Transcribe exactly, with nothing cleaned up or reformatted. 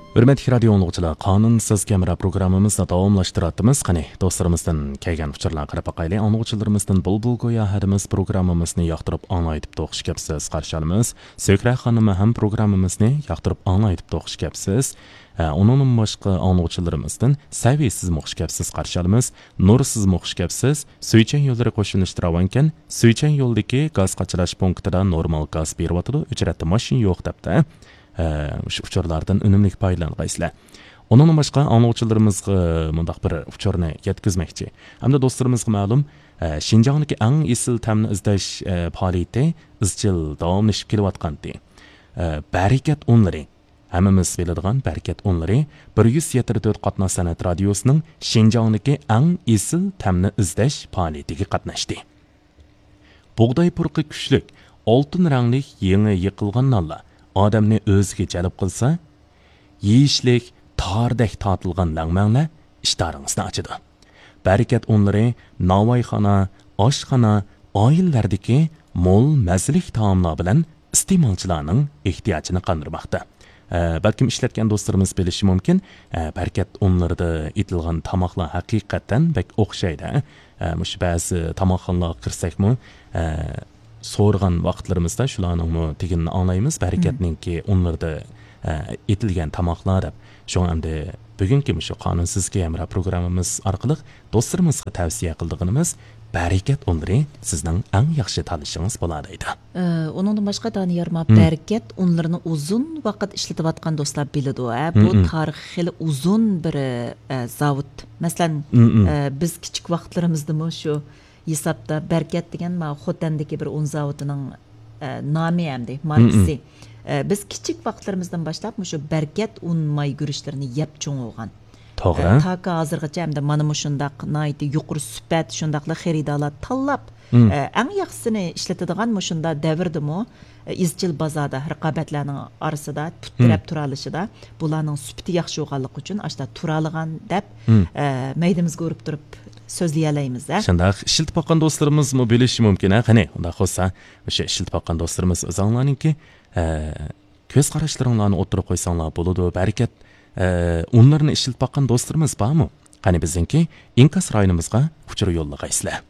ھۆرمەتلىك رادىيو ئاڭلىغۇچىلار، قانۇنسىز كامېرا پروگراممىمىزنى داۋاملاشتۇراتتىمىز. قېنى، دوستلىرىمىزدىن كەلگەن ئۇچۇرلارغا قاراپ باقايلى. ئاڭلىغۇچىلىرىمىزدىن بۇلبۇل گويا ھەدىمىز پروگراممىمىزنى ياقتۇرۇپ ئاڭلايدىپ توخۇش كەپسىز، قارشى ئالىمىز. سۆھرە خانىمى ھەم پروگراممىمىزنى ياقتۇرۇپ ئاڭلايدىپ توخۇش كەپسىز. ئە، ئۇنىڭدىن باشقا ئاڭلىغۇچىلىرىمىزدىن سەۋى سىزمۇ خۇش كەپسىز، قارشى ئالىمىز. نۇر سىزمۇ خۇش كەپسىز. سۈيچەن يوللىرى قوشۇلۇشتا راۋانكەن. سۈيچەن يولىدىكى گاز قاچىلاش پونكىتىدا نورمال گاز بېرىۋاتىدۇ، ئۆچرەتتە ماشىنا يوق دەپتۇ. ئە، مۇشۇ ئۇچۇرلاردىن ئۈنۈملۈك پايدىلانغايسىلەر. ئۇنىڭدىن باشقا ئاڭلىغۇچىلىرىمىزغا مۇنداق بىر ئۇچۇرنى يەتكۈزمەكچى. ھەمدە دوستلىرىمىزغا مەلۇم، ئە، شىنجاڭدىكى ئەڭ ئېسىل تەمنى ئىزدەش، ئە، پائالىيىتى ئىزچىل داۋاملىشىپ كېلىۋاتقانتى. ئە، بەرىكەت ئۇنلىرى. ھەممىمىز بىلىدىغان بەرىكەت ئۇنلىرى بىر يۈز يەتتە تۆت قاتناش سەنئەت رادىيوسىنىڭ شىنجاڭدىكى ئەڭ ئېسىل تەمنى ئىزدەش پائالىيىتىگە قاتناشتى. بۇغداي پۇرىقى كۈچلۈك، ئالتۇن رەڭلىك يېڭى يېقىلغان نانلار ئادەمنى ئۆزىگە جەلپ قىلسا، يېيىشلىك تاردەك تارتىلغان لەڭمەڭلەر ئىشتىھارىڭىزنى ئاچىدۇ. بەرىكەت ئۇنلىرى ناۋايخانا، ئاشخانا، ئائىلىلەردىكى مول مەززىلىك تائاملار بىلەن ئىستېمالچىلارنىڭ ئېھتىياجىنى قاندۇرماقتا. ئە، بەلكىم ئىشلەتكەن دوستلىرىمىز بىلىشى مۇمكىن، ئە، بەرىكەت ئۇنلىرىدا ئېتىلغان تاماقلار ھەقىقەتەن بەك ئوخشايدۇ. ئە، مۇشۇ بەزى تاماقخانىلارغا كىرسەكمۇ، ئە، سورىغان ۋاقىتلىرىمىزدا شۇلارنىڭمۇ تېگىنىنى ئاڭلايمىز، بەرىكەتنىڭكى ئۇنلىرىدا، ئە، ئېتىلگەن تاماقلار دەپ. شۇڭا ئەمدى بۈگۈنكى مۇشۇ قانۇنسىز كامېرا پروگراممىمىز ئارقىلىق دوستلىرىمىزغا تەۋسىيە قىلىدىغىنىمىز، بەرىكەت ئۇنلىرى سىزنىڭ ئەڭ ياخشى تاللىشىڭىز بولار دەيدۇ. ئە، ئۇنىڭدىن باشقا، دانىيار، ما، مم. بەرىكەت ئۇنلىرىنى ئۇزۇن ۋاقىت ئىشلىتىۋاتقان دوستلار بىلىدۇ، ئە، بۇ مم. تارىخى خېلى ئۇزۇن بىر، ئە، زاۋۇت. مەسىلەن، مم. ئە، بىز كىچىك ۋاقىتلىرىمىزدىمۇ شۇ ھېسابتا بەرىكەت دېگەن، ما، خوتەندىكى بىر ئۇن زاۋۇتىنىڭ، ئە، نامى ئەمدى، ماركىسى. مم. ئە، بىز كىچىك ۋاقىتلىرىمىزدىن باشلاپ مۇشۇ بەرىكەت ئۇن ماي گۈرۈچلىرىنى يەپ چوڭ بولغان. توغرا. ئە، تاكى ھازىرغىچە ئەمدى مانا مۇشۇنداق ناھايىتى يۇقىرى سۈپەت، شۇنداقلا خېرىدارلار تاللاپ، مم. ئە، ئەڭ ياخشىسىنى ئىشلىتىدىغان مۇشۇنداق دەۋردىمۇ، ئە، ئىزچىل بازاردا رىقابەتلەرنىڭ ئارىسىدا پۇت مم. تىرەپ تۇرالىشىدا، بۇلارنىڭ سۈپىتى ياخشى بولغانلىقى ئۈچۈن ئاشتا تۇرالىغان دەپ، مم. ئە، مەيدىمىزگە ئۇرۇپ تۇرۇپ سۆزلىيەلەيمىز، ھە؟ شۇنداق، ئىشلىتىپ باققان دوستلىرىمىزمۇ بىلىشى مۇمكىن، ھە؟ قېنى، ئۇنداق بولسا، ئوشۇ ئىشلىتىپ باققان دوستلىرىمىز ئۆزۈڭلارنىڭكى، ئە، كۆز قاراشلىرىڭلارنى ئوتتۇرىغا قويساڭلار بولىدۇ. بەرىكەت، ئە، ئۇنلىرىنى ئىشلىتىپ باققان دوستلىرىمىز بارمۇ؟ قېنى، بىزنىڭكى ئىنكاس رايونىمىزغا ئۇچۇر يوللىغايسىلەر.